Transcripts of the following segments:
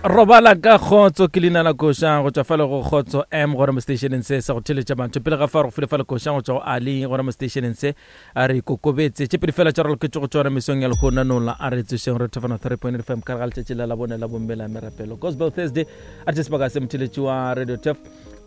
Robala ka kgotso ke leina la koša go tšwa fale go Kgotso M gona mo stationeng se sa go theletša batho. Pele ga fa re go file fale koša go tšwa go Ali gona mo stationeng se a re ikokobetse. Tše pedi fela tša raloketše go tšona mesong ya lehono nola a re tsošeng re thofana 3.8 FM ka ga letšatši la labone la bomme la merapelo. Gospel Thursday a re sebaka se motheletši wa Radio Tef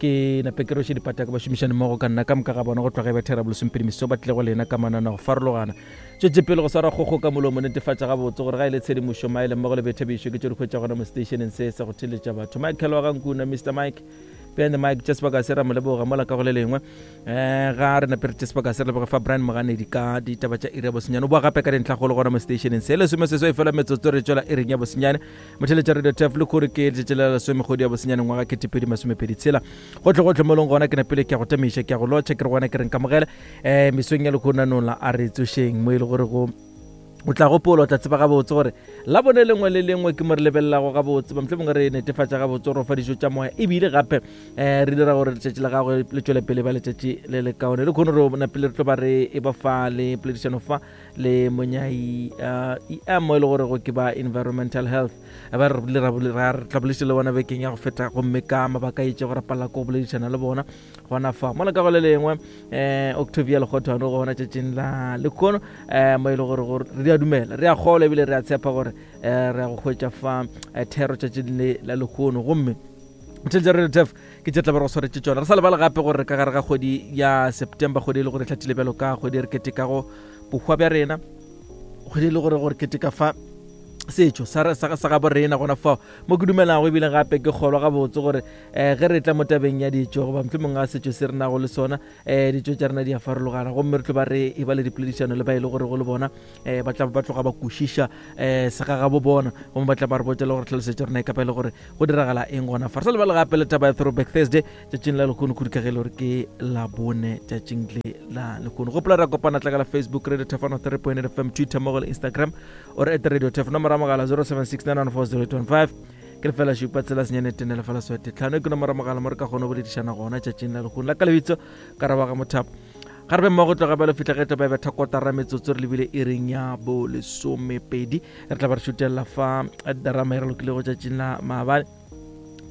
ke nape ke roše dipata ka bašomišani mmogo ka nna ka moka ga bona go tloga e ba thera bolesomepedi meso ba tlile go lena ka manana go farologana. Tšwetše pele go swara kgogo ka molomo, netefatša gabotse gore ga e le tshedimošo, maele mmogo le boithabišo ke tše di hwetša gona mo seteišeneng se sa go theeletša batho. Michael wa ga Nkuna, Mister Mike, behind the mic, tša sebaka se ra mo leboga mola ka go le lengwe. Um ga re nape re tše sebaka se re leboge fa Brian Moganedi ka ditaba tša iri ya bosenyane. O boa gape ka dintlhakgolo gona mo seteišeneng se. Lesomeseswai fela metsotso re tšwela iring ya bosenyane. Motheeletša Radio Tef le kgore ke letšatši la lesome kgwedi ya bosenyane ngwaga 2026. Gohle gohle mo leng gona ke napile ke a go tamiša, ke a go lotšha, ke re gona ke re nkamogele. Um mesong ya lehono nola a re tsošeng mo e le gore go o tla gopola o tla tseba gabotse gore la bone lengwe le lengwe ke mo re lebelelago gabotse ba mohlomongwe re netefatša gabotse gore o fa dijo tša moya ebile gape um re dira gore letšatši la gagwe le tšwele pele ba letšatši le le kaone le kgone re napile re tlo ba re e ba fa le poledišano fa le monyai uh, em mo e le gore go ke ba environmental health ba re rile ra re tla bolediša le bona bekeng ya go feta gomme ka mabaka a itšego ra palela ko go boledišana le bona gona fa mola ka go le lengwe um Octavia Lekgothwane gona tšatšing la lekgono um mo e le gore gore re a dumela re a kgolwa ebile re a tshepa gore um re ya go hwetša fa eh, thero tšatšing le la lekgono gomme tšhelete re tef ke tše tla ba re go swaretše tšona re sa lebale gape gore ka gare ga kgwedi ya September kgwedi e le gore e hlathile bjalo ka kgwedi e re ketekago bohwa bja rena kgwedi e le gore gore keteka fa setšo sa sa gabo rena gona fao mo ke dumelago ebile gape ke kgolwa gabotse gore um ge re tla mo tabeng ya ditšo goba mohlomong ga setšo se re nago le sona um ditšo tša rena di a farologana gomme re tlo ba re e ba le dipoledišano le ba e le gore go le bona um ba tla ba tloga ba kwešiša um segagabo bona gomme ba tla ba re botša le gore tlhalosetša rena e kapa e le gore go diragala eng gona fa re sa lebale gape le taba ya throwback Thursday tšatšing la lekgono kudu ka ge e le gore ke labone tšatšing le la lekgono gopola ra kopana tla ka la Facebook Radio Tefano 3.8 FM Twitter mmogo le Instagram o re at Radio Tef nomoro ya mogala 0769140815 ke lefela šupa tsela senyane tene lefela swete tlhano ke nomoro ya mogala mo re ka kgona go boledišana gona tšatšing la lekgono la ka lebitso ka rabaga mothapo ga re be mmogo tloga bjalo fitlha ge tla ba e betha kotara metsotso re lebile iring ya bolesomepedi re tla ba re šutelela fa drama e re lokilego tšatšing la maabane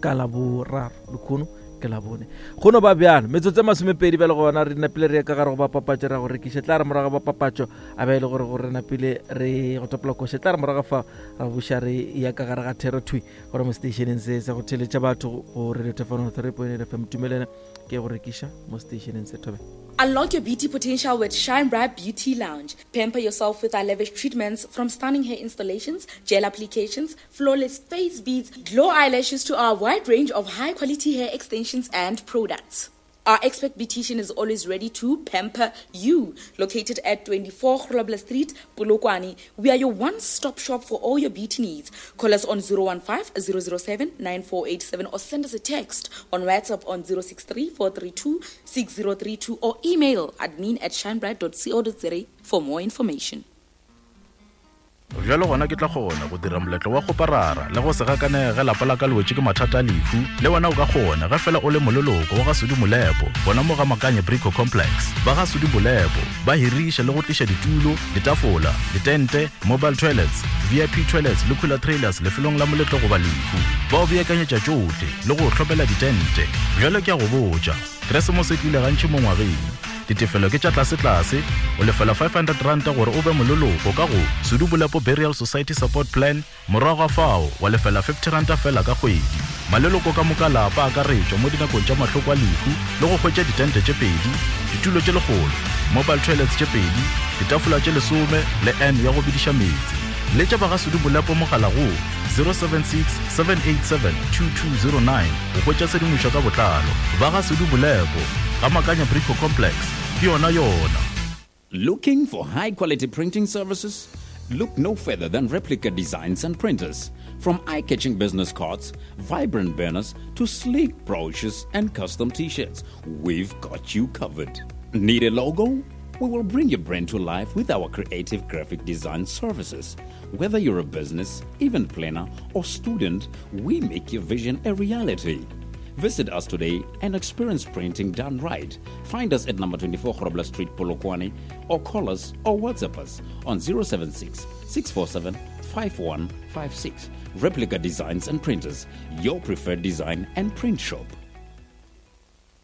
ka la boraro lekgono ke la bone go no ba bjalo metsotso e masomepedi bjale gona re napile re ye ka gare go ba papatšo ra go rekiša tla re morago ba papatšo a be e le gore gore re napile re go topola koše tla re morago fa ra buša re ya ka gare ga thero thwi gore mo stationeng se sa go theletša batho go radio tefano 3.8 fm tumelena ke go rekiša mo stationeng se thobe. Unlock your beauty potential with Shine Bright Beauty Lounge. Pamper yourself with our lavish treatments from stunning hair installations, gel applications, flawless face beads, glow eyelashes to our wide range of high quality hair extensions and products. Our expert beautician is always ready to pamper you. Located at 24 Grobler Street, Polokwane, we are your one-stop shop for all your beauty needs. Call us on 015 007 9487 or send us a text on WhatsApp on 063 432 6032 or email admin at shinebright.co.za for more information. Bjalo gona ke tla kgona go dira moletlo wa kgoparara le go se gakanege ge lapa la ka le wetše ke mathata a lehu. Le wena o ka kgona ge fela o le moleloko wa ga Sudi Molepo gona mo ga Makanye Brico Complex. Ba ga Sudi Molepo ba hiriša le go tliša ditulo, ditafola, ditente, mobile toilets, VIP toilets le cooler trailers lefelong la moletlo goba lehu. Ba o beakanyetša tšohle le go o hlopela ditente. Bjalo ke a go botša, Keresemose e tlile gantši mo ngwageng. Ditefelo ke tša tlasetlase, o lefela R500 gore o be moleloko ka go Sudu Bolepo Burial Society Support Plan, morago ga fao wa lefela R50 feela ka kgwedi. Maleloko ka moka a lapa a akaretšwa mo dinakong tša mahloko a lehu le go hwetša ditente tše pedi, ditulo tše lekgolo, mobile toilets tše pedi, ditafola tše lesome le urn ya go bediša meetse. Letša ba ga Sudu Bolepo mogala go 076 787 2209 go hwetša tshedimošo ka botlalo. Ba ga Sudu Bolepo, ga Makanya Brico Complex, ke yona yona. Looking for high quality printing services? Look no further than Replica Designs and Printers. From eye catching business cards, vibrant banners, to sleek brochures and custom t shirts, we've got you covered. Need a logo? We will bring your brand to life with our creative graphic design services. Whether you're a business, event planner, or student, we make your vision a reality. Visit us today and experience printing done right. Find us at number 24 Grobler Street, Polokwane, or call us or WhatsApp us on 076 647 5156. Replica Designs and Printers, your preferred design and print shop.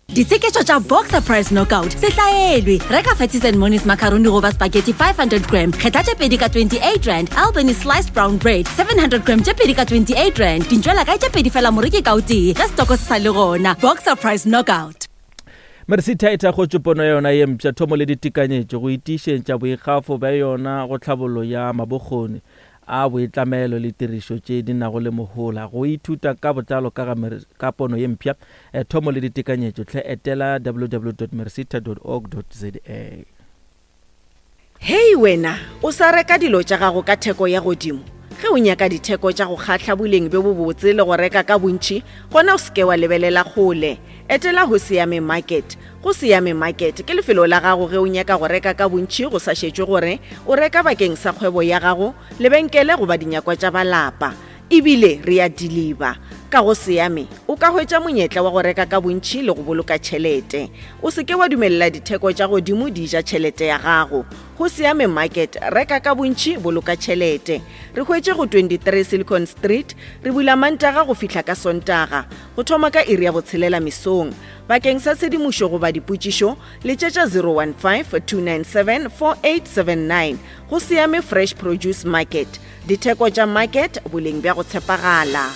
Ditsheketšo tša Boxer Price Knockout se hlaelwe. Reka Fatties and Monies macaroni goba spaghetti 500 gram, kgetha tše pedi ka 28 rand, Albany sliced brown bread 700 gram tše pedi ka 28 rand. Dintšwela kae tše pedi fela moreki ka o tee ge setoko se sa le gona. Boxer Price Knockout. Mercita e thakgotše pono ya yona ye mpsha, thomo le ditekanyetšo go itiišetša boikgafo bja yona go tlhabollo ya mabokgoni a boitlamelo le tirišo tše di nago le mohola. Go ithuta ka botlalo ka ga ka pono ye mpsha, thomo le ditekanyetšo, hle etela www.mercita.org.za. Hei wena, o sa reka dilo tša gago ka theko ya godimo? Ge o nyaka ditheko tša go kgahla boleng bjo bobotse le go reka ka bontši, gona o se ke wa lebelela kgole. Etela Hosiame Market. Go Siame Market ke lefelo la gago ge o nyaka go reka ka bontši go sa šetšwe gore o reka bakeng sa kgwebo ya gago, lebenkele goba dinyakwa tša ba lapa. E bile re a diliba. Ka go Siame o ka hwetša monyetla wa go reka ka bontši le go boloka tšhelete. O se ke wa dumelela ditheko tša godimo di ja tšhelete ya gago. Go Siame Market, reka ka bontši, boloka tšhelete. Re hwetše go 23 Silicon Street, re bula Mantaga go fihla ka Sontaga, go thoma ka iri ya botshelela mesong. Bakeng sa tshedimošo goba dipotšišo, letšetša 015-297-4879. Go Siame Fresh Produce Market, ditheko tša market, boleng bja go tshepagala.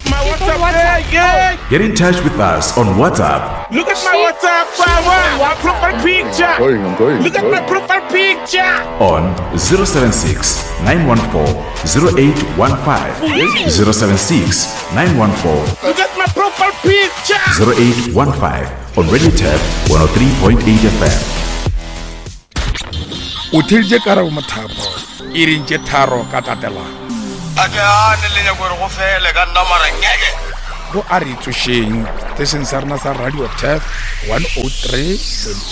My WhatsApp, hey, yeah. Get in touch with us on WhatsApp. Look at my WhatsApp, my profile picture. I'm going, I'm going, Look at my profile picture. On 076 914 0815. 076 914 Look at my profile picture. 0815 on Radio Tap 103.8 FM. O theeditše Karabo Mothapo iring tše tharo ka tatelano. A ke gane le nyako gore go fele ka nna mara ngeke. Go a re tsošeng station sa rena sa Radio Tap 103.8.